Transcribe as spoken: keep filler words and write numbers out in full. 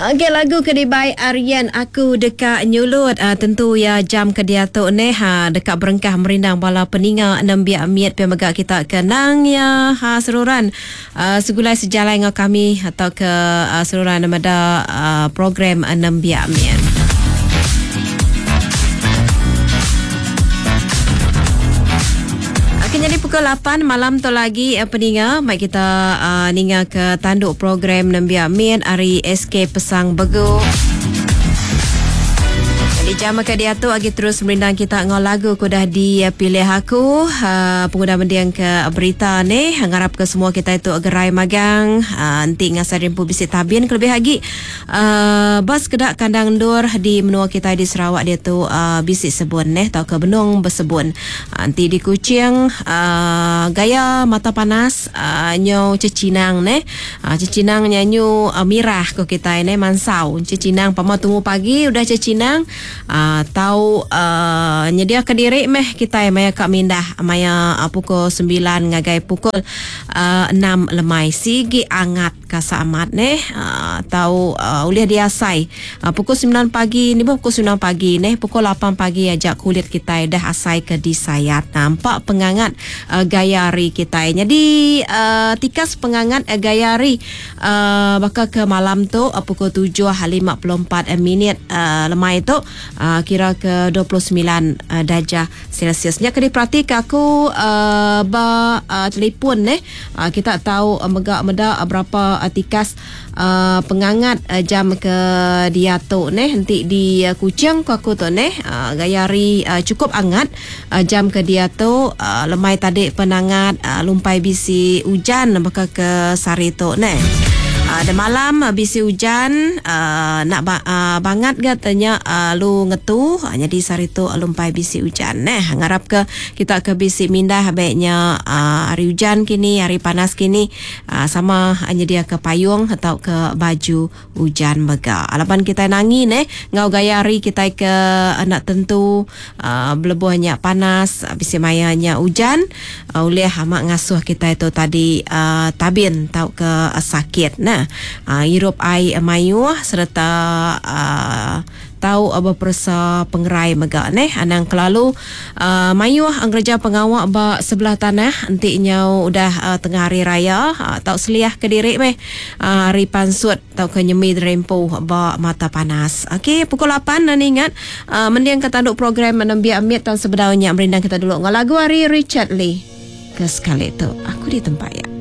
Okey, lagu ke dibai Aryan Aku Deka Nyulut. Uh, tentu ya jam ke diatu neh ha, deka berengkah merindang bala peninga nembiak miet pe mega kita kenang ya ha seruran uh, segulai sejalai ngau kami atau ke uh, seruran meda uh, program nembiak miet. Jadi pukul lapan malam tu lagi eh, peninga mai kita uh, ninga ke tanduk program nembiak miet hari S K Pesang Begu. Di jam ke dia tu lagi terus merindang kita ngau lagu ku dah dipilih aku uh, pengguna mendiang ke berita ni ngarap ke semua kita itu gerai magang uh, nanti ngasai rimpu bisi tabin kelebih lagi uh, bas kedak kandang ndur di menua kita di Sarawak dia tu uh, bisi sebun neh tau ke benung bersebun uh, nanti di Kuching uh, gaya mata panas uh, nyo cecinang neh uh, cecinang nyanyu uh, mirah ko kita neh mansau cecinang pama tunggu pagi udah cecinang. Uh, tau uh, nyedia ke diri meh kita maya kak mindah maya uh, pukul sembilan ngagai pukul uh, enam lemai sigi angat kasamat neh uh, tau uh, ulih diasai uh, pukul sembilan pagi ni pukul sembilan pagi neh pukul lapan pagi ajak kulit kita dah asai ke disayat nampak pengangat uh, gaya hari kita jadi uh, tikas pengangat uh, gaya hari uh, bakal ke malam tu uh, pukul tujuh lima puluh empat minit uh, lemai tu Uh, kira ke dua puluh sembilan uh, darjah Celsius. Nya kena perhati ke aku uh, ba uh, telefon neh uh, kita tahu uh, megak meda uh, berapa uh, tikas uh, pengangat uh, jam ke dia tu neh nanti di uh, Kuching ku aku tu neh uh, gaya hari uh, cukup angat uh, jam ke dia tu uh, lemai tadi penangat uh, lumpai bisi hujan bakal ke sari tu neh. Uh, dan malam uh, bisi hujan uh, nak ba- uh, bangat ga tanya uh, lu ngetu uh, jadi sari tu uh, lumpai bisi hujan neh ngarap ke kita ke bisi mindah baiknya uh, hari hujan kini hari panas kini uh, sama hanya dia ke payung atau ke baju hujan mega alapan kita nangi neh ngau gaya hari kita ke uh, nak tentu uh, belebuhnya panas uh, bisi mayanya hujan uh, oleh amak ngasuh kita itu tadi uh, tabin tau ke uh, sakit nah. Uh, hirup air mayuh serta uh, tahu apa persa pengerai megak neh anang kelalu uh, mayuh angkerja pengawak ba sebelah tanah entik nyau udah uh, tengah hari raya uh, tau seliah ke diri meh uh, hari pansut tau ke nyemi derempu ba mata panas. Okey pukul lapan nan ingat uh, mendiang ke tanduk program nembiak amit tan sebedaunya merindang kita dulu ngau lagu hari Richard Lee ke sekali tu aku di tempat ya.